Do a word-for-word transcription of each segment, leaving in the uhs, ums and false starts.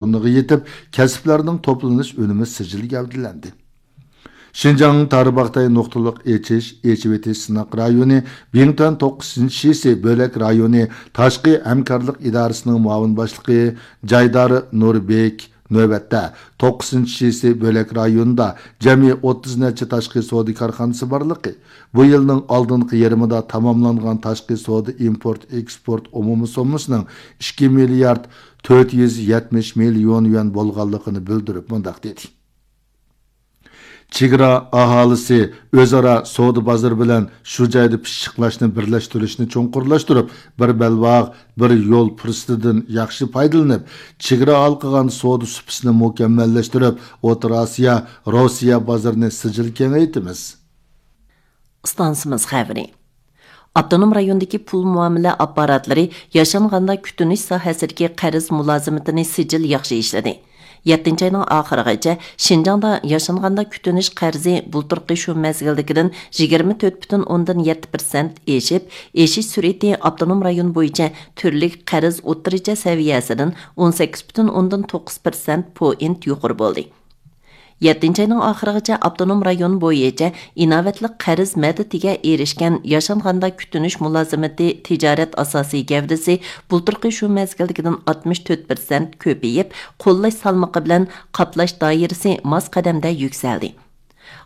ئورنىغا يېتىپ، كەسىپلەرنىڭ توپلىنىش ئۈنۈمى سىجىل گەۋدىلەندى. شىنجاڭ تارباغاتاي نۇقتىلىق ئېچىش، ئېچىۋېتىش سىناق رايونى، بىڭتۈەن توققۇزىنچى شىسى بۆلەك رايونى تاشقى ھەمكارلىق ئىدارىسىنىڭ مۇئاۋىن باشلىقى جايدار نۇربېك نۆۋەتتە توققۇزىنچى شىسى بۆلەك رايونىدا جەمئىي ئوتتۇز نەچچە تاشقى سودا كارخانىسى بارلىقى، بۇ يىلنىڭ ئالدىنقى يېرىمىدا تاماملانغان تاشقى سودا ئىمپورت ئېكسپورت ئومۇمىي سوممىسىنىڭ ئىككى مىليارد تۆت يۈز يەتمىش مىليون يۈەن بولغانلىقىنى بىلدۈرۈپ مۇنداق دېدى. چېگرا ئاھالىسى ئۆزئارا سودا بازىرى بىلەن شۇ جايدا پىششىقلاشنى بىرلەشتۈرۈشنى چوڭقۇرلاشتۇرۇپ، بىر بەلباغ، بىر يول پۇرسىتىدىن ياخشى پايدىلىنىپ، چېگرا ھالقىغان سودا سۇپىسىنى مۇكەممەللەشتۈرۈپ، ئوتتۇرا ئاسىيا، روسىيە بازىرىنى سىجىل كېڭەيتىمىز. ئىستانسىمىز خەۋىرى. ئاپتونوم رايوندىكى پۇل مۇئامىلە ئاپپاراتلىرى ياشانغاندا كۈتۈنۈش ساھەسىدىكى قەرز مۇلازىمىتىنى سىجىل ياخشى ئىشلىدى. يەتتىنچى ئاينىڭ ئاخىرىغىچە شىنجاڭدا ياشانغاندا كۈتۈنۈش قەرزى بۇلتۇرقى شۇ مەزگىلدىكىدىن يىگىرمە تۆت پۈتۈن ئوندىن يەتتە پىرسەنت ئېشىپ، ئېشىش سۈرئىتى ئاپتونوم رايون بويىچە تۈرلۈك قەرز ئوتتۇرىچە سەۋىيەسىدىن ئون سەككىز پۈتۈن ئوندىن توققۇز پىرسەنت پوئىنت يۇقىرى بولدى. يەتتىنچى ئاينىڭ ئاخىرىغىچە ئاپتونوم رايون بويىچە ئىناۋەتلىك قەرز مەدىتىگە ئېرىشكەن ياشانغاندا كۈتۈنۈش مۇلازىمىتى تىجارەت ئاساسىي گەۋدىسى بۇلتۇرقى شۇ مەزگىلدىكىدىن ئاتمىش تۆت پىرسەنت كۆپىيىپ، قوللاش سالمىقى بىلەن قاپلاش دائىرىسى ماس قەدەمدە يۈكسەلدى.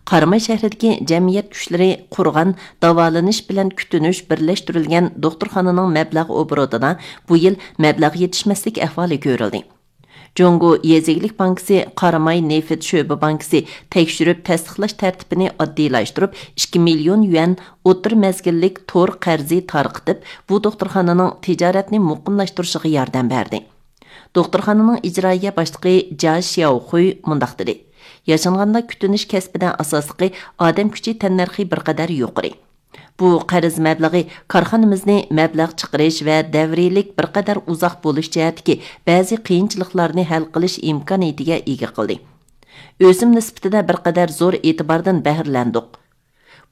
قاراماي شەھىرىدىكى جەمئىيەت كۈچلىرى قۇرغان داۋالىنىش بىلەن كۈتۈنۈش بىرلەشتۈرۈلگەن دوختۇرخانىنىڭ مەبلەغ ئوبوروتىدا بۇ يىل مەبلەغ يېتىشمەسلىك ئەھۋالى كۆرۈلدى. جۇڭگو يېزا ئىگىلىك بانكىسى قاراماي نېفىت شۆبە بانكىسى تەكشۈرۈپ تەستىقلاش تەرتىپىنى ئاددىيلاشتۇرۇپ، ئىككى مىليون يۈەن ئوتتۇرا مەزگىللىك تور قەرزى تارقىتىپ، بۇ دوختۇرخانىنىڭ تىجارەتنى مۇقىملاشتۇرۇشىغا ياردەم بەردى. دوختۇرخانىنىڭ ئىجرائىيە باشلىقى جا شياۋخۇي مۇنداق دېدى: ياشانغاندا كۈتۈنۈش كەسپىدە ئاساسلىقى ئادەم كۈچى تەننەرخى بىر قەدەر يۇقىرى. بۇ قەرز مەبلىغى كارخانىمىزنى مەبلەغ چىقىرىش ۋە دەۋرىيلىك بىر قەدەر ئۇزاق بولۇش جەھەتتىكى بەزى قىيىنچىلىقلارنى ھەل قىلىش ئىمكانىيىتىگە ئىگە قىلدى. ئۆسۈم نىسبىتىدە بىر قەدەر زور ئېتىباردىن بەھرىلەندۇق.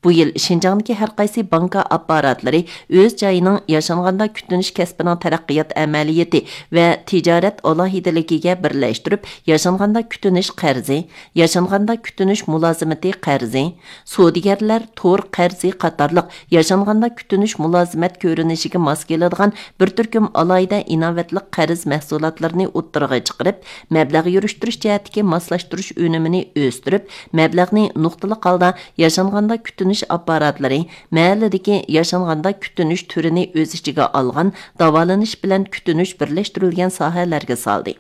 بۇ يىل شىنجاڭدىكى ھەر قايسى بانكا ئاپپاراتلىرى ئۆز جايىنىڭ ياشانغاندا كۈتۈنۈش كەسپىنىڭ تەرەققىيات ئەمەلىيىتى ۋە تىجارەت ئالاھىدىلىكىگە بىرلەشتۈرۈپ، ياشانغاندا كۈتۈنۈش قەرزى، ياشانغاندا كۈتۈنۈش مۇلازىمىتى قەرزى، سودىگەرلەر تور قەرزى قاتارلىق ياشانغاندا كۈتۈنۈش مۇلازىمەت كۆرۈنۈشىگە ماس كېلىدىغان بىر تۈركۈم ئالاھىدە ئىناۋەتلىك قەرز مەھسۇلاتلىرىنى ئوتتۇرىغا چىقىرىپ، مەبلەغ يۈرۈشتۈرۈش جەھەتتىكى ماسلاشتۇرۇش ئۈنۈمىنى ئۆستۈرۈپ، مەبلەغنى نۇقتىلىق ھالدا ياشانغاندا كۈتۈنۈش ئاپپاراتلىرى، مەھەللىدىكى ياشانغاندا كۈتۈنۈش تۈرىنى ئۆز ئىچىگە ئالغان داۋالىنىش بىلەن كۈتۈنۈش بىرلەشتۈرۈلگەن ساھەلەرگە سالدى.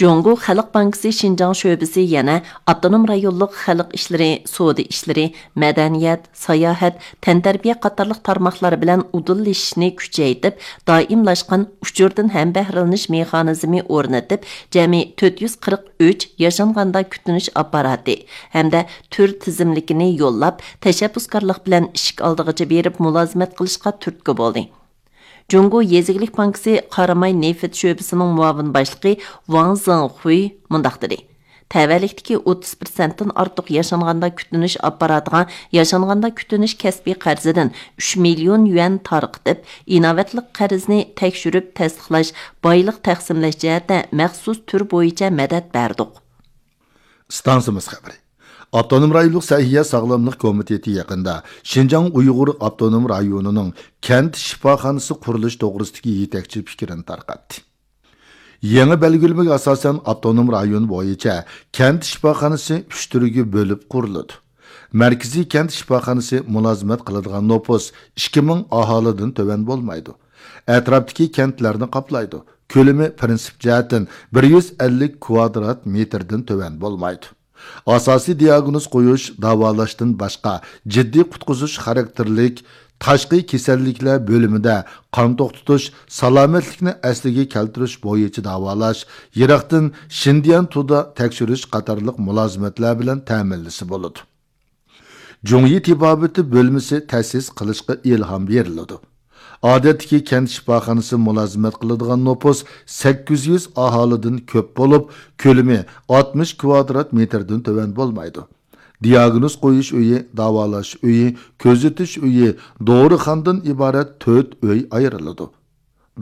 جۇڭگو خەلق بانكىسى شىنجاڭ شۆبىسى يەنە ئاپتونوم رايونلۇق خەلق ئىشلىرى، سودا ئىشلىرى، مەدەنىيەت، ساياھەت، تەنتەربىيە قاتارلىق تارماقلار بىلەن ئۇدۇللىشىشنى كۈچەيتىپ، دائىملاشقان ئۇچۇردىن ھەمبەھرىلىنىش مېخانىزمى ئورنىتىپ، جەمئىي تۆت يۈز قىرىق ئۈچ ياشانغاندا كۈتۈنۈش ئاپپاراتى ھەمدە تۈر تىزىملىكىنى يوللاپ، تەشەببۇسكارلىق بىلەن ئىشىك ئالدىغىچە بېرىپ مۇلازىمەت قىلىشقا تۈرتكە بولدى. جۇڭگو يېزا ئىگىلىك بانكىسى قاراماي نېفىت شۆبىسىنىڭ مۇئاۋىن باشلىقى ۋاڭ زېڭخۇي مۇنداق دېدى: تەۋەلىكتىكى ئوتتۇز پىرسەنتتىن ئارتۇق ياشانغاندا كۈتۈنۈش ئاپپاراتىغا ياشانغاندا كۈتۈنۈش كەسپىي قەرزىدىن ئۈچ مىليون يۈەن تارقىتىپ، ئىناۋەتلىك قەرزنى تەكشۈرۈپ تەستىقلاش، بايلىق تەقسىملەش جەھەتتە مەخسۇس تۈر بويىچە مەدەت بەردۇق. ئىستانسىمىز خەۋىرى. ئاپتونوم رايونلۇق سەھىيە ساغلاملىق كومىتېتى يېقىندا شىنجاڭ ئۇيغۇر ئاپتونوم رايونىنىڭ كەنت شىپاخانىسى قۇرۇلۇش توغرىسىدىكى يېتەكچى پىكرىنى تارقاتتى. يېڭى بەلگىلىمىگە ئاساسەن، ئاپتونوم رايون بويىچە كەنت شىپاخانىسى ئۈچ تۈرگە بۆلۈپ قۇرۇلىدۇ. مەركىزىي كەنت شىپاخانىسى مۇلازىمەت قىلىدىغان نوپۇس ئىككى مىڭ ئاھالىدىن تۆۋەن بولمايدۇ. ئەتراپتىكى كەنتلەرنى قاپلايدۇ. كۆلىمى پىرىنسىپ جەھەتتىن بىر يۈز ئەللىك كۋادرات مېتىردىن تۆۋەن بولمايدۇ. ئاساسىي دىئاگنوز قويۇش، داۋالاشتىن باشقا، جىددىي قۇتقۇزۇش خاراكتېرلىك تاشقى كېسەللىكلەر بۆلۈمىدە قان توختىتىش، سالامەتلىكنى ئەسلىگە كەلتۈرۈش بويىچە داۋالاش، يىراقتىن شىندىيەن تودا تەكشۈرۈش قاتارلىق مۇلازىمەتلەر بىلەن تەمىنلىسە بولىدۇ. جۇڭيى تېبابىتى بۆلمىسى تەسىس قىلىشقا ئىلھام بېرىلىدۇ. ئادەتتىكى كەنت شىپاخانىسى مۇلازىمەت قىلىدىغان نوپۇس سەككىز يۈز ئاھالىدىن كۆپ بولۇپ، كۆلىمى ئاتمىش كۋادرات مېتىردىن تۆۋەن بولمايدۇ. دىئاگنوز قويۇش ئۆيى، داۋالاش ئۆيى، كۆزىتىش ئۆيى، دورىخانىدىن ئىبارەت تۆت ئۆي ئايرىلىدۇ.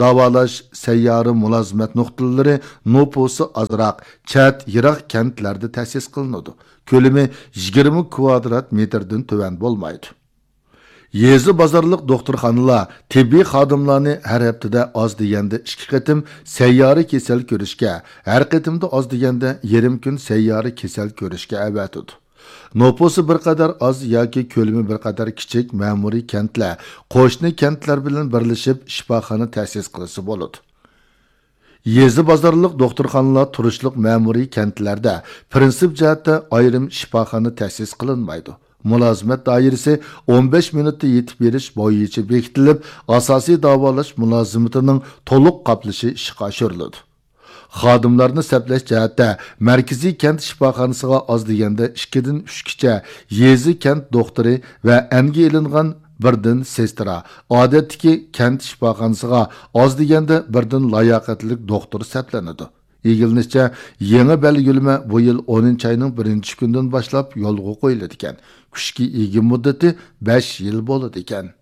داۋالاش سەييارە مۇلازىمەت نۇقتىلىرى نوپۇسى ئازراق، چەت، يىراق كەنتلەردە تەسىس قىلىنىدۇ. كۆلىمى يىگىرمە كۋادرات مېتىردىن تۆۋەن بولمايدۇ. يېزا بازارلىق دوختۇرخانىلار تېببىي خادىملارنى ھەر ھەپتىدە ئاز دېگەندە ئىككى قېتىم سەييارە كېسەل كۆرۈشكە، ھەر قېتىمدا ئاز دېگەندە يېرىم كۈن سەييارە كېسەل كۆرۈشكە ئەۋەتىدۇ. نوپۇسى بىر قەدەر ئاز ياكى كۆلىمى بىر قەدەر كىچىك مەمۇرىي كەنتلەر قوشنا كەنتلەر بىلەن بىرلىشىپ شىپاخانا تەسىس قىلسا بولىدۇ. يېزا بازارلىق دوختۇرخانىلار تۇرۇشلۇق مەمۇرىي كەنتلەردە پىرىنسىپ جەھەتتە ئايرىم شىپاخانا تەسىس قىلىنمايدۇ. مۇلازىمەت دائىرىسى ئون بەش مىنۇتتا يېتىپ بېرىش بويىچە بېكىتىلىپ، ئاساسىي داۋالاش مۇلازىمىتىنىڭ تولۇق قاپلىشى ئىشقا ئاشۇرۇلىدۇ. خادىملارنى سەپلەش جەھەتتە مەركىزىي كەنت شىپاخانىسىغا ئاز دېگەندە ئىككىدىن ئۈچكىچە يېزا كەنت دوختۇرى ۋە ئەنگە ئېلىنغان بىردىن سېسترا، ئادەتتىكى كەنت شىپاخانىسىغا ئاز دېگەندە بىردىن لاياقەتلىك دوختۇر سەپلىنىدۇ. ئىگىلىنىشىچە، يېڭى بەلگىلىمە بۇ يىل ئونىنچى ئاينىڭ بىرىنچى كۈنىدىن باشلاپ يولغا قويۇلىدىكەن. كۈچكە ئىگە مۇددىتى بەش يىل بولىدىكەن.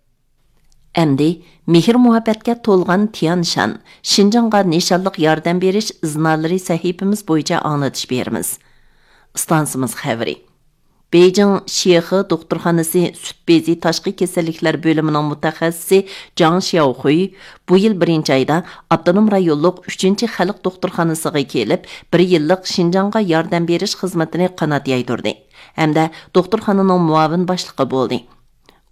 ئەمدى مېھىر-مۇھەببەتكە تولغان تيانشان، شىنجاڭغا نىشانلىق ياردەم بېرىش ئىزنالىرى سەھىپىمىز بويىچە ئاڭلىتىش بېرىمىز. ئىستانسىمىز خەۋىرى. بېيجىڭ شيېخې دوختۇرخانىسى سۈت بېزى تاشقى كېسەللىكلەر بۆلۈمىنىڭ مۇتەخەسسىسى جاڭ شياۋخۇي بۇ يىل بىرىنچى ئايدا ئاپتونوم رايونلۇق ئۈچىنچى خەلق دوختۇرخانىسىغا كېلىپ، بىر يىللىق شىنجاڭغا ياردەم بېرىش خىزمىتىنى قانات يايدۇردى ھەمدە دوختۇرخانىنىڭ مۇئاۋىن باشلىقى بولدى.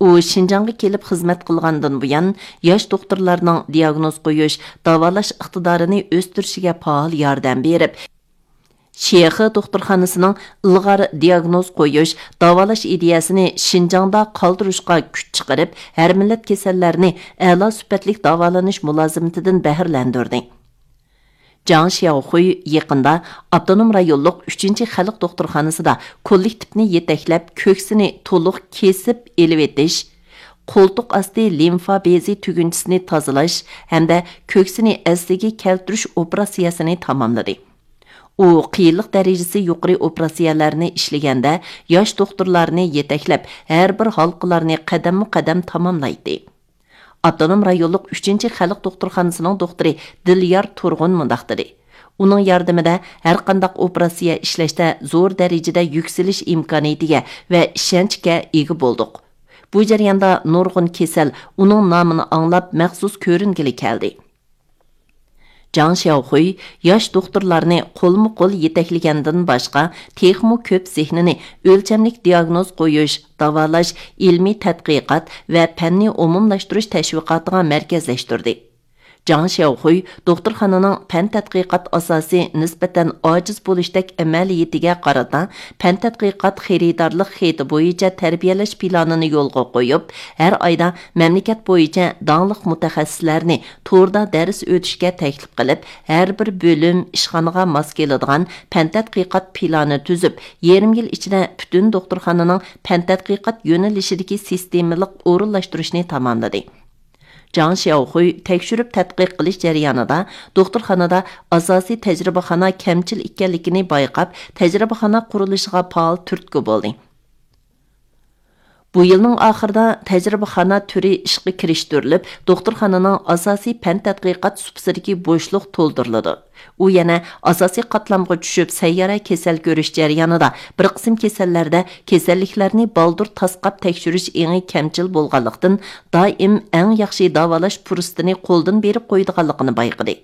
ئۇ شىنجاڭغا كېلىپ خىزمەت قىلغاندىن بۇيان، ياش دوختۇرلارنىڭ دىياگنوز قويۇش، داۋالاش ئىقتىدارىنى ئۆستۈرۈشىگە پائال ياردەم بېرىپ، شيېخې دوختۇرخانىسىنىڭ ئىلغار دىياگنوز قويۇش، داۋالاش ئىدىيەسىنى شىنجاڭدا قالدۇرۇشقا كۈچ چىقىرىپ، ھەر مىللەت كېسەللەرنى ئەلا سۈپەتلىك داۋالىنىش مۇلازىمىتىدىن بەھرىلەندۈردى. جاڭ شياۋخۇي يېقىندا ئاپتونوم رايونلۇق ئۈچىنچى خەلق دوختۇرخانىسىدا كوللېكتىپنى يېتەكلەپ، كۆكسىنى تولۇق كېسىپ ئېلىۋېتىش، قولتۇق ئاستى لىمفا بېزى تۈگۈنچىسىنى تازىلاش ھەمدە كۆكسىنى ئەسلىگە كەلتۈرۈش ئوپېراتسىيەسىنى تاماملىدى. ئۇ قىيىنلىق دەرىجىسى يۇقىرى ئوپېراتسىيەلەرنى ئىشلىگەندە، ياش دوختۇرلارنى يېتەكلەپ، ھەر بىر ھالقىلارنى قەدەممۇ قەدەم تاماملايتتى. ئاپتونوم رايونلۇق ئۈچىنچى خەلق دوختۇرخانىسىنىڭ دوختۇرى دىليار تۇرغۇن مۇنداق دېدى: ئۇنىڭ ياردىمىدە ھەرقانداق ئوپېراتسىيە ئىشلەشتە زور دەرىجىدە يۈكسىلىش ئىمكانىيىتىگە ۋە ئىشەنچكە ئىگە بولدۇق. بۇ جەرياندا نۇرغۇن كېسەل ئۇنىڭ نامىنى ئاڭلاپ مەخسۇس كۆرۈنگىلى كەلدى. جاڭ شياۋخۇي ياش دوختۇرلارنى قولمۇ قول يېتەكلىگەندىن باشقا، تېخىمۇ كۆپ زېھنىنى ئۆلچەملىك دىياگنوز قويۇش، داۋالاش، ئىلمىي تەتقىقات ۋە پەننى ئومۇملاشتۇرۇش تەشۋىقاتىغا مەركەزلەشتۈردى. جاڭ شياۋخۇي دوختۇرخانىنىڭ پەن تەتقىقات ئاساسى نىسبەتەن ئاجىز بولۇشتەك ئەمەلىيىتىگە قارىتا، پەن تەتقىقات خېرىدارلىق خېتى بويىچە تەربىيەلەش پىلانىنى يولغا قويۇپ، ھەر ئايدا مەملىكەت بويىچە داڭلىق مۇتەخەسسىسلەرنى توردا دەرس ئۆتۈشكە تەكلىپ قىلىپ، ھەر بىر بۆلۈم، ئىشخانىغا ماس كېلىدىغان پەن تەتقىقات پىلانى تۈزۈپ، يېرىم يىل ئىچىدە پۈتۈن دوختۇرخانىنىڭ پەن تەتقىقات يۆنىلىشىدىكى سىستېمىلىق ئورۇنلاشتۇرۇشنى تاماملىدى. جاڭ شياۋخۇي تەكشۈرۈپ تەتقىق قىلىش جەريانىدا دوختۇرخانىدا ئاساسىي تەجرىبىخانا كەمچىل ئىكەنلىكىنى بايقاپ، تەجرىبىخانا قۇرۇلۇشىغا پائال تۈرتكە بولدى. بۇ يىلنىڭ ئاخىرىدا تەجرىبىخانا تۈرى ئىشقا كىرىشتۈرۈلۈپ، دوختۇرخانىنىڭ ئاساسىي پەن تەتقىقات سۇپىسىدىكى بوشلۇق تولدۇرۇلىدۇ. ئۇ يەنە ئاساسىي قاتلامغا چۈشۈپ، سەييارە كېسەل كۆرۈش جەريانىدا بىر قىسىم كېسەللەردە كېسەللىكلەرنى بالدۇر تاسقاپ تەكشۈرۈش ئېڭى كەمچىل بولغانلىقتىن، دائىم ئەڭ ياخشى داۋالاش پۇرسىتىنى قولدىن بېرىپ قويىدىغانلىقىنى بايقىدى.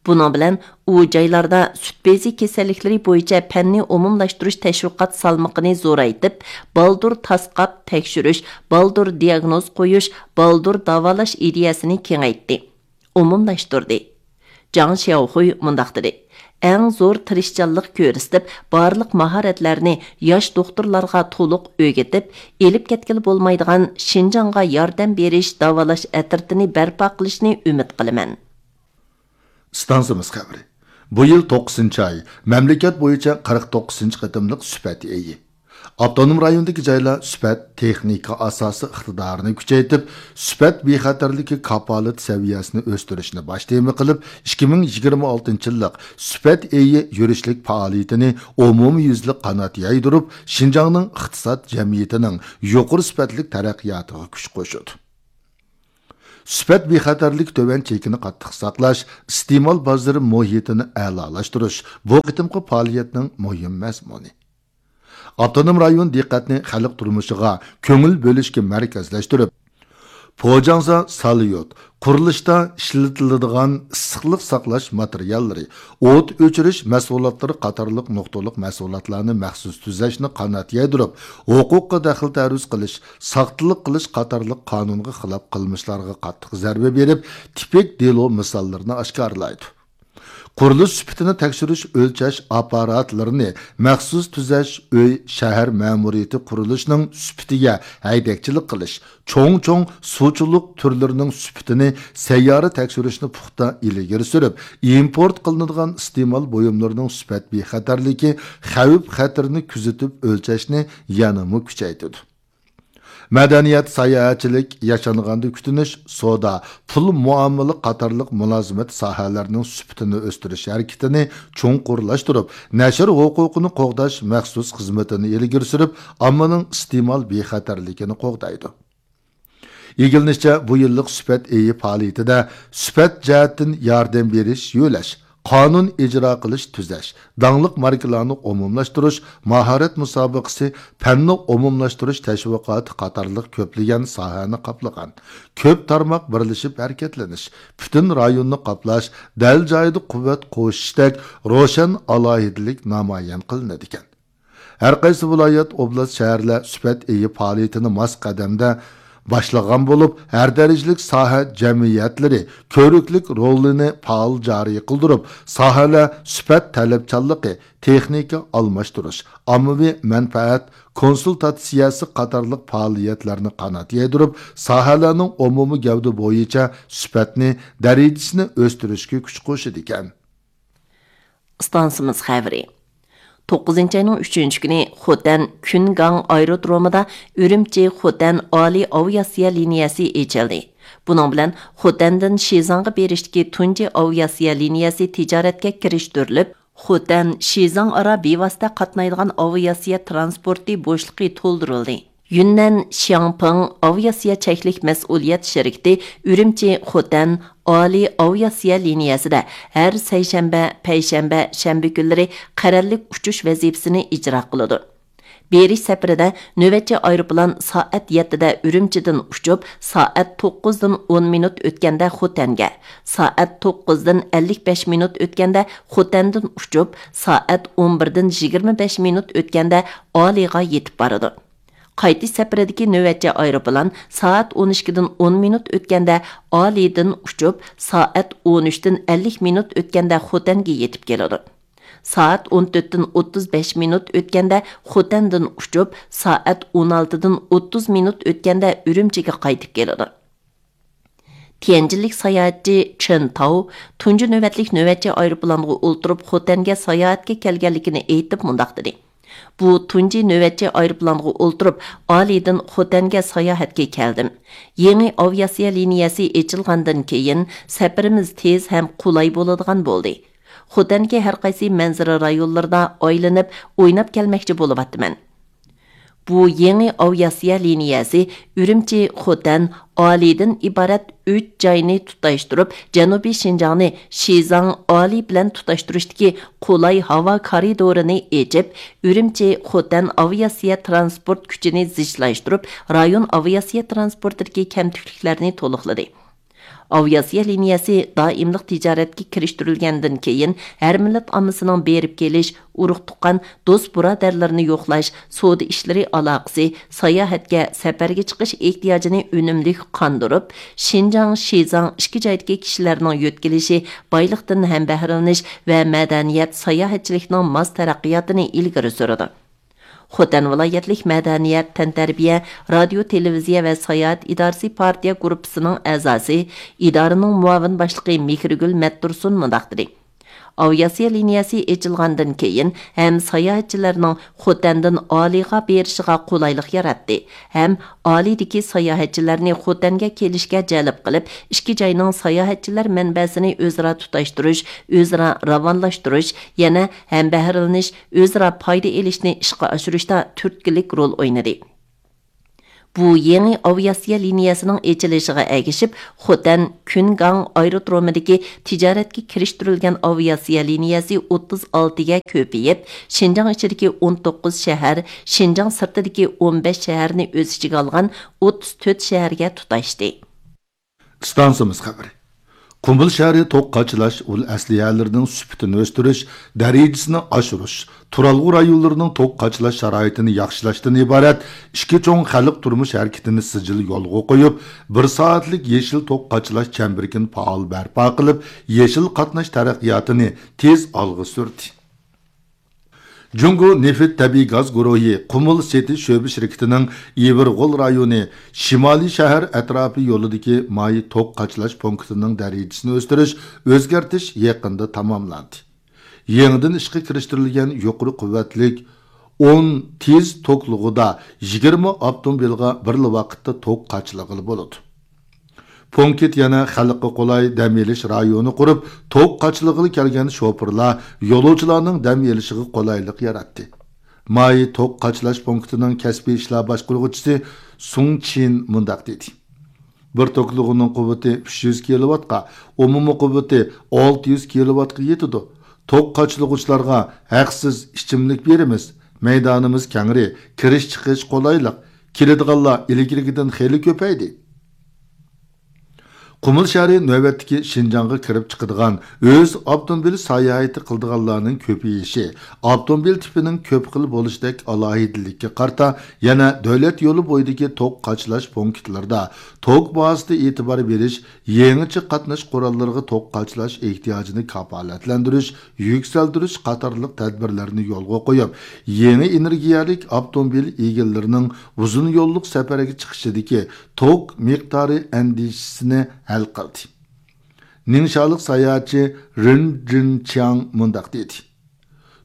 بۇنىڭ بىلەن ئۇ جايلاردا سۈت بېزى كېسەللىكلىرى بويىچە پەننى ئومۇملاشتۇرۇش تەشۋىقات سالمىقىنى زورايتىپ، بالدۇر تاسقاپ تەكشۈرۈش، بالدۇر دىياگنوز قويۇش، بالدۇر داۋالاش ئىدىيەسىنى كېڭەيتتى، ئومۇملاشتۇردى. جاڭ شياۋخۇي مۇنداق دېدى: ئەڭ زور تىرىشچانلىق كۆرسىتىپ، بارلىق ماھارەتلەرنى ياش دوختۇرلارغا تولۇق ئۆگىتىپ، ئېلىپ كەتكىلى بولمايدىغان شىنجاڭغا ياردەم بېرىش داۋالاش ئەترىتىنى بەرپا قىلىشنى ئۈمىد قىلىمەن. ئىستانسىمىز خەۋىرى. بۇ يىل توققۇزىنچى ئاي، مەملىكەت بويىچە قىرىق توققۇزىنچى قېتىملىق سۈپەت ئېيى. ئاپتونوم رايوندىكى جايلار سۈپەت، تېخنىكا ئاساسى ئىقتىدارىنى كۈچەيتىپ، سۈپەت بىخەتەرلىكى كاپالىتى سەۋىيەسىنى ئۆستۈرۈشنى باش تېما قىلىپ، ئىككى مىڭ يىگىرمە ئالتىنچى يىللىق سۈپەت ئېيى يۈرۈشلۈك پائالىيىتىنى ئومۇميۈزلۈك قانات يايدۇرۇپ، شىنجاڭنىڭ ئىقتىساد جەمئىيىتىنىڭ يۇقىرى سۈپەتلىك تەرەققىياتىغا كۈچ قوشىدۇ. سۈپەت بىخەتەرلىكى تۆۋەن چېكىنى قاتتىق ساقلاش، ئىستېمال بازىرى مۇھىتىنى ئەلالاشتۇرۇش بۇ قېتىمقى پائالىيەتنىڭ مۇھىم مەزمۇنى. ئاپتونوم رايون دىققەتنى خەلق تۇرمۇشىغا كۆڭۈل بۆلۈشكە مەركەزلەشتۈرۈپ، پوجاڭزا ساليۇت، قۇرۇلۇشتا ئىشلىتىلىدىغان ئىسسىقلىق ساقلاش ماتېرىياللىرى، ئوت ئۆچۈرۈش مەھسۇلاتلىرى قاتارلىق نۇقتىلىق مەھسۇلاتلارنى مەخسۇس تۈزەشنى قانات يايدۇرۇپ، ھوقۇققا دەخلى تەرۇز قىلىش، ساختىلىق قىلىش قاتارلىق قانۇنغا خىلاپ قىلمىشلارغا قاتتىق زەربە بېرىپ، تىپىك دېلو مىساللىرىنى ئاشكارىلايدۇ. قۇرۇلۇش سۈپىتىنى تەكشۈرۈش، ئۆلچەش ئاپپاراتلىرىنى مەخسۇس تۈزەش، ئۆي، شەھەر مەمۇرىيىتى قۇرۇلۇشىنىڭ سۈپىتىگە ھەيدەكچىلىك قىلىش، چوڭ-چوڭ سۇچىلىق تۈرلىرىنىڭ سۈپىتىنى سەييارە تەكشۈرۈشنى پۇختا ئىلگىرى سۈرۈپ، ئىمپورت قىلىنىدىغان ئىستېمال بۇيۇملىرىنىڭ سۈپەت بىخەتەرلىكى، خەۋپ خەتىرىنى كۆزىتىپ ئۆلچەشنى يەنىمۇ كۈچەيتىدۇ. مەدەنىيەت، ساياھەتچىلىك، ياشانغاندا كۈتۈنۈش، سودا، پۇل مۇئامىلە قاتارلىق مۇلازىمەت ساھەلەرنىڭ سۈپىتىنى ئۆستۈرۈش ھەرىكىتىنى چوڭقۇرلاشتۇرۇپ، نەشر ھوقۇقىنى قوغداش مەخسۇس خىزمىتىنى ئىلگىرى سۈرۈپ، ئاممىنىڭ ئىستېمال بىخەتەرلىكىنى قوغدايدۇ. ئىگىلىنىشىچە، بۇ يىللىق سۈپەت ئېيى پائالىيىتىدە سۈپەت جەھەتتىن ياردەم بېرىش، يۆلەش، قانۇن ئىجرا قىلىش، تۈزەش، داڭلىق ماركىلارنى ئومۇملاشتۇرۇش، ماھارەت مۇسابىقىسى، پەننى ئومۇملاشتۇرۇش تەشۋىقاتى قاتارلىق كۆپلىگەن ساھەنى قاپلىغان كۆپ تارماق بىرلىشىپ ھەرىكەتلىنىش، پۈتۈن رايوننى قاپلاش، دەل جايىدا قۇۋۋەت قوشۇشتەك روشەن ئالاھىدىلىك نامايان قىلىنىدىكەن. ھەر قايسى ۋىلايەت، ئوبلاست، شەھەرلەر سۈپەت ئېيى پائالىيىتىنى ماس قەدەمدە باشلىغان بولۇپ، ھەر دەرىجىلىك ساھە جەمئىيەتلىرى كۆۋرۈكلۈك رولىنى پائال جارى قىلدۇرۇپ، ساھەلەر سۈپەت تەلەپچانلىقى، تېخنىكا ئالماشتۇرۇش، ئاممىۋى مەنپەئەت كونسۇلتاتسىيەسى قاتارلىق پائالىيەتلەرنى قانات يايدۇرۇپ، ساھەلەرنىڭ ئومۇمىي گەۋدە بويىچە سۈپەتنى، دەرىجىسىنى ئۆستۈرۈشكە كۈچ قوشىدىكەن. ئىستانسىمىز خەۋىرى. توققۇزىنچى ئاينىڭ ئۈچىنچى كۈنى خوتەن كۈنگاڭ ئايرودرومىدا ئۈرۈمچى خوتەن ئالىي ئاۋىئاتسىيە لىنىيەسى ئېچىلدى. بۇنىڭ بىلەن خوتەندىن شىزاڭغا بېرىشتىكى تۇنجى ئاۋىئاتسىيە لىنىيەسى تىجارەتكە كىرىشتۈرۈلۈپ، خوتەن شىزاڭ ئارا بىۋاسىتە قاتنايدىغان ئاۋىئاتسىيە تىرانسپورتى بوشلۇقى تولدۇرۇلدى. يۈننەن شياڭپىڭ ئاۋىئاتسىيە چەكلىك مەسئۇلىيەت شىركىتى ئۈرۈمچى خوتەن ئالىي ئاۋىئاتسىيە لىنىيەسىدە ھەر سەيشەنبە، پەيشەنبە، شەنبە كۈنلىرى قەرەللىك ئۇچۇش ۋەزىپىسىنى ئىجرا قىلىدۇ. بېرىش سەپىرىدە نۆۋەتچى ئايروپىلان سائەت يەتتىدە ئۈرۈمچىدىن ئۇچۇپ، سائەت توققۇزدىن ئون مىنۇت ئۆتكەندە خوتەنگە، سائەت توققۇزدىن ئەللىك بەش مىنۇت ئۆتكەندە خوتەندىن ئۇچۇپ، سائەت ئون بىردىن يىگىرمە بەش مىنۇت ئۆتكەندە ئالىيغا يېتىپ بارىدۇ. قايتىش سەپىرىدىكى نۆۋەتچى ئايروپىلان سائەت ئون ئىككىدىن ئون مىنۇت ئۆتكەندە ئالىيدىن ئۇچۇپ، سائەت ئون ئۈچتىن ئەللىك مىنۇت ئۆتكەندە خوتەنگە يېتىپ كېلىدۇ. سائەت ئون تۆتتىن ئوتتۇز بەش مىنۇت ئۆتكەندە خوتەندىن ئۇچۇپ، سائەت ئون ئالتىدىن ئوتتۇز مىنۇت ئۆتكەندە ئۈرۈمچىگە قايتىپ كېلىدۇ. تيەنجىنلىك ساياھەتچى چېن تاۋ تۇنجى نۆۋەتلىك نۆۋەتچى ئايروپىلانغا ئولتۇرۇپ خوتەنگە ساياھەتكە كەلگەنلىكىنى ئېيتىپ مۇنداق دېدى: بۇ تۇنجى نۆۋەتچى ئايروپىلانغا ئولتۇرۇپ ئالىيدىن خوتەنگە ساياھەتكە كەلدىم. يېڭى ئاۋىئاتسىيە لىنىيەسى ئېچىلغاندىن كېيىن سەپىرىمىز تېز ھەم قولاي بولىدىغان بولدى. خوتەندىكى ھەر قايسى مەنزىرە رايونلىرىدا ئايلىنىپ ئويناپ كەلمەكچى بولۇۋاتىمەن. بۇ يېڭى ئاۋىئاتسىيە لىنىيەسى ئۈرۈمچى خوتەن ئالىيدىن ئىبارەت ئۈچ جاينى تۇتاشتۇرۇپ، جەنۇبىي شىنجاڭنى شىزاڭ ئالىي بىلەن تۇتاشتۇرۇشتىكى قولاي ھاۋا كارىدورىنى ئېچىپ، ئۈرۈمچى خوتەن ئاۋىئاتسىيە تىرانسپورت كۈچىنى زىچلاشتۇرۇپ، رايون ئاۋىئاتسىيە تىرانسپورتىدىكى كەمتۈكلۈكلەرنى تولۇقلىدى. ئاۋىئاتسىيە لىنىيەسى دائىملىق تىجارەتكە كىرىشتۈرۈلگەندىن كېيىن، ھەر مىللەت ئاممىسىنىڭ بېرىپ كېلىش، ئۇرۇق-تۇغقان، دوست-بۇرادەرلىرىنى يوقلاش، سودا ئىشلىرى ئالاقىسى، ساياھەتكە، سەپەرگە چىقىش ئېھتىياجىنى ئۈنۈملۈك قاندۇرۇپ، شىنجاڭ، شىزاڭ ئىككى جايدىكى كىشىلەرنىڭ يۆتكىلىشى، بايلىقتىن ھەمبەھرىلىنىش ۋە مەدەنىيەت، ساياھەتچىلىكنىڭ ماس تەرەققىياتىنى ئىلگىرى سۈرىدۇ. خوتەن ۋىلايەتلىك مەدەنىيەت، تەنتەربىيە، رادىيو، تېلېۋىزىيە ۋە ساياھەت ئىدارىسى پارتىيە گۇرۇپپىسىنىڭ ئەزاسى، ئىدارىنىڭ مۇئاۋىن باشلىقى مېھرىگۈل مەتتۇرسۇن مۇنداق دېدى: ئاۋىئاتسىيە لىنىيەسى ئېچىلغاندىن كېيىن، ھەم ساياھەتچىلەرنىڭ خوتەندىن ئالىيغا بېرىشىغا قولايلىق ياراتتى، ھەم ئالىيدىكى ساياھەتچىلەرنى خوتەنگە كېلىشكە جەلپ قىلىپ، ئىككى جاينىڭ ساياھەتچىلەر مەنبەسىنى ئۆزئارا تۇتاشتۇرۇش، ئۆزئارا راۋانلاشتۇرۇش، يەنە ھەمبەھىرلىنىش، ئۆزئارا پايدا ئېلىشنى ئىشقا ئاشۇرۇشتا تۈرتكىلىك رول ئوينىدى. بۇ يېڭى ئاۋىئاتسىيە لىنىيەسىنىڭ ئېچىلىشىغا ئەگىشىپ، خوتەن كۈنگاڭ ئايرودرومىدىكى تىجارەتكە كىرىشتۈرۈلگەن ئاۋىئاتسىيە لىنىيەسى ئوتتۇز ئالتىگە كۆپىيىپ، شىنجاڭ ئىچىدىكى ئون توققۇز شەھەر، شىنجاڭ سىرتىدىكى ئون بەش شەھەرنى ئۆز ئىچىگە ئالغان ئوتتۇز تۆت شەھەرگە تۇتاشتى. ئىستانسىمىز خەۋىرى. قۇمۇل شەھىرى توك قاچىلاش ئۇل ئەسلىھەلىرىنىڭ سۈپىتىنى ئۆستۈرۈش، دەرىجىسىنى ئاشۇرۇش، تۇرالغۇ رايونلىرىنىڭ توك قاچىلاش شارائىتىنى ياخشىلاشتىن ئىبارەت ئىككى چوڭ خەلق تۇرمۇش ھەرىكىتىنى سىجىل يولغا قويۇپ، بىر سائەتلىك يېشىل توك قاچىلاش چەمبىرىكىنى پائال بەرپا قىلىپ، يېشىل قاتناش تەرەققىياتىنى تېز ئالغا سۈردى. جۇڭگو نېفىت تەبىئىي گاز گۇرۇھى قۇمۇل سېتى شۆبە شىركىتىنىڭ ئىۋىرغول رايونى شىمالىي شەھەر ئەتراپى يولىدىكى ماي توك قاچىلاش پونكىتىنىڭ دەرىجىسىنى ئۆستۈرۈش، ئۆزگەرتىش يېقىندا تاماملاندى. يېڭىدىن ئىشقا كىرىشتۈرۈلگەن يۇقىرى قۇۋۋەتلىك ئون تېز توكلىغۇدا يىگىرمە ئاپتوموبىلغا بىرلا ۋاقىتتا توك قاچىلىغىلى بولىدۇ. پونكىت يەنە خەلققە قولاي دەم ئېلىش رايونى قۇرۇپ، توك قاچىلىغىلى كەلگەن شوپۇرلار يولۇچىلارنىڭ دەم ئېلىشىغا قولايلىق ياراتتى. ماي توك قاچىلاش پونكىتىنىڭ كەسپىي ئىشلار باشقۇرغۇچىسى سۇڭ چىن مۇنداق دېدى: بىر توكلىغۇنىڭ قۇۋۋىتى ئۈچ يۈز كىلوۋاتقا، ئومۇمىي قۇۋۋىتى ئالتە يۈز كىلوۋاتقا يېتىدۇ. توك قاچىلىغۇچىلارغا ھەقسىز ئىچىملىك بېرىمىز. مەيدانىمىز كەڭرى، كىرىش چىقىش قولايلىق. كېلىدىغانلار ئىلگىرىكىدىن خېلى كۆپەيدى. قۇمۇل شەھىرى نۆۋەتتىكى شىنجاڭغا كىرىپ چىقىدىغان، ئۆز ئاپتوموبىل ساياھىتى قىلىدىغانلارنىڭ كۆپىيىشى، ئاپتوموبىل تىپىنىڭ كۆپ خىل بولۇشىدەك ئالاھىدىلىككە قارىتا، يەنە دۆلەت يولى بويىدىكى توك قاچىلاش پونكىتلىرىدا توك باھاسىدا ئېتىبار بېرىش، يېڭىچە قاتناش قوراللىرىغا توك قاچىلاش ئېھتىياجىنى كاپالەتلەندۈرۈش، يۈكسەلدۈرۈش قاتارلىق تەدبىرلەرنى يولغا قويۇپ، يېڭى ئېنېرگىيەلىك ئاپتوموبىل ئىگىلىرىنىڭ ئۇزۇن يوللۇق سەپەرگە چىقىشىدىكى توك مىقدارى ئەندىشىسىنى ھەل قىلدى. نىڭشالىق ساياھەتچى رېن جىنچياڭ مۇنداق دېدى: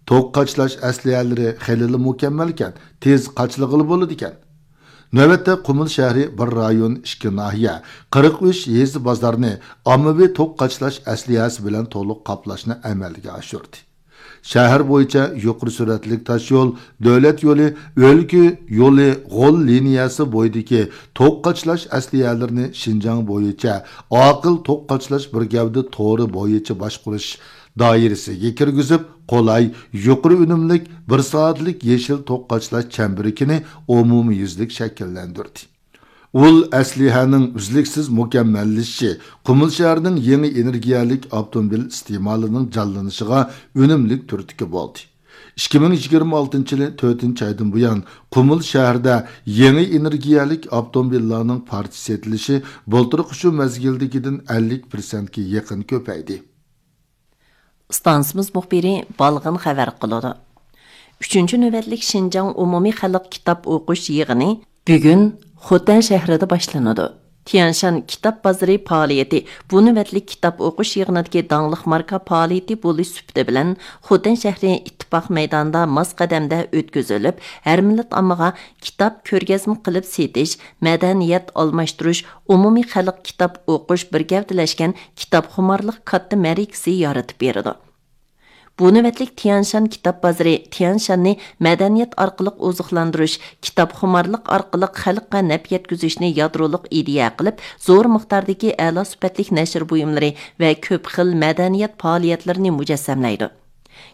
توك قاچىلاش ئەسلىھەلىرى خېلىلا مۇكەممەلكەن، تېز قاچىلىغىلى بولىدىكەن. نۆۋەتتە قۇمۇل شەھىرى بىر رايون، ئىككى ناھىيە، قىرىق ئۈچ يېزا بازارنى ئاممىۋى توك قاچىلاش ئەسلىھەسى بىلەن تولۇق قاپلاشنى ئەمەلگە ئاشۇردى. شەھەر بويىچە يۇقىرى سۈرئەتلىك تاشيول، دۆلەت يولى، ئۆلكە يولى، غول لىنىيەسى بويىدىكى توك قاچىلاش ئەسلىھەلىرىنى شىنجاڭ بويىچە ئاقىل توك قاچىلاش بىر گەۋدە تورى بويىچە باشقۇرۇش دائىرىسىگە كىرگۈزۈپ، قولاي، يۇقىرى ئۈنۈملۈك بىر سائەتلىك يېشىل توك قاچىلاش چەمبىرىكىنى ئومۇميۈزلۈك شەكىللەندۈردى. ئۇل ئەسلىھەنىڭ ئۈزلۈكسىز مۇكەممەللىشىشى قۇمۇل شەھىرىنىڭ يېڭى ئېنېرگىيەلىك ئاپتوموبىل ئىستېمالىنىڭ جانلىنىشىغا ئۈنۈملۈك تۈرتكە بولدى. ئىككى مىڭ يىگىرمە ئالتىنچى يىلى تۆتىنچى ئايدىن بۇيان، قۇمۇل شەھىرىدە يېڭى ئېنېرگىيەلىك ئاپتوموبىللارنىڭ پارچە سېتىلىشى بۇلتۇرقى شۇ مەزگىلدىكىدىن ئەللىك پىرسەنتكە يېقىن كۆپەيدى. ئىستانسىمىز مۇخبىرى بالغىن خەۋەر قىلىدۇ. ئۈچىنچى نۆۋەتلىك شىنجاڭ ئومۇمىي خەلق كىتاب ئوقۇش يىغىنى بۈگۈن خوتەن شەھىرىدە باشلىنىدۇ. تيەنشان كىتاب بازىرى پائالىيىتى بۇ نۆۋەتلىك كىتاب ئوقۇش يىغىنىدىكى داڭلىق ماركا پائالىيىتى بولۇش سۈپىتى بىلەن خوتەن شەھىرى ئىتتىپاق مەيدانىدا ماس قەدەمدە ئۆتكۈزۈلۈپ، ھەر مىللەت ئاممىغا كىتاب كۆرگەزمە قىلىپ سېتىش، مەدەنىيەت ئالماشتۇرۇش، ئومۇمىي خەلق كىتاب ئوقۇش بىر گەۋدىلەشكەن كىتابخۇمارلىق كاتتا مەرىكىسى يارىتىپ بېرىدۇ. بۇ نۆۋەتلىك تيەنشان كىتاب بازىرى تيەنشاننى مەدەنىيەت ئارقىلىق ئوزۇقلاندۇرۇش، كىتابخۇمارلىق ئارقىلىق خەلققە نەپ يەتكۈزۈشنى يادرولۇق ئىدىيە قىلىپ، زور مىقداردىكى ئەلا سۈپەتلىك نەشر بۇيۇملىرى ۋە كۆپ خىل مەدەنىيەت پائالىيەتلىرىنى مۇجەسسەملەيدۇ.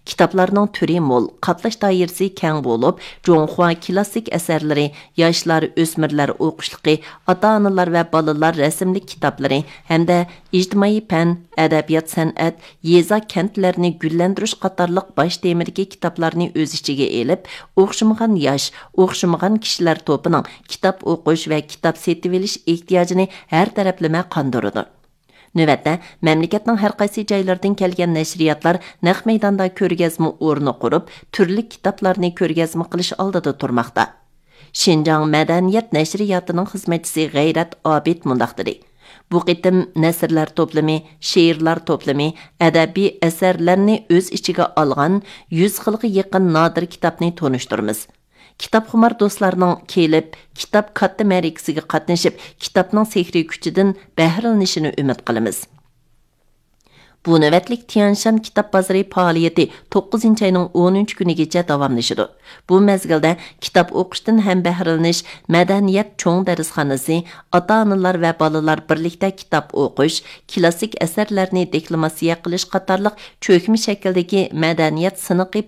كىتابلارنىڭ تۈرى مول، قاپلاش دائىرىسى كەڭ بولۇپ، جۇڭخۇا كىلاسسىك ئەسەرلىرى، ياشلار، ئۆسمۈرلەر ئوقۇشلۇقى، ئاتا-ئانىلار ۋە بالىلار رەسىملىك كىتابلىرى ھەمدە ئىجتىمائىي پەن، ئەدەبىيات-سەنئەت، يېزا-كەنتلەرنى گۈللەندۈرۈش قاتارلىق باش تېمىدىكى كىتابلارنى ئۆز ئىچىگە ئېلىپ، ئوخشىمىغان ياش، ئوخشىمىغان كىشىلەر توپىنىڭ كىتاب ئوقۇش ۋە كىتاب سېتىۋېلىش ئېھتىياجىنى ھەر تەرەپلىمە قاندۇرىدۇ. نۆۋەتتە، مەملىكەتنىڭ ھەر قايسى جايلىرىدىن كەلگەن نەشرىياتلار نەق مەيداندا كۆرگەزمە ئورنى قۇرۇپ، تۈرلۈك كىتابلارنى كۆرگەزمە قىلىش ئالدىدا تۇرماقتا. شىنجاڭ مەدەنىيەت نەشرىياتىنىڭ خىزمەتچىسى غەيرەت ئابىد مۇنداق دېدى: بۇ قېتىم نەسرلەر توپلىمى، شېئىرلار توپلىمى، ئەدەبىي ئەسەرلەرنى ئۆز ئىچىگە ئالغان يۈز خىلغا يېقىن نادىر كىتابنى تونۇشتۇرىمىز. كىتابخۇمار دوستلارنىڭ كېلىپ، كىتاب كاتتا مەرىكىسىگە قاتنىشىپ، كىتابنىڭ سېھرىي كۈچىدىن بەھرىلىنىشىنى ئۈمىد قىلىمىز. بۇ نۆۋەتلىك تيەنشان كىتاب بازىرى پائالىيىتى توققۇزىنچى ئاينىڭ ئونىنچى كۈنىگىچە داۋاملىشىدۇ. بۇ مەزگىلدە كىتاب ئوقۇشتىن ھەم بەھرىلىنىش، مەدەنىيەت چوڭ دەرسخانىسى، ئاتا-ئانىلار ۋە بالىلار بىرلىكتە كىتاب ئوقۇش، كلاسسىك ئەسەرلەرنى دېكلاماتسىيە قىلىش قاتارلىق چۆكمە شەكىلدىكى مەدەنىيەت سىنىقى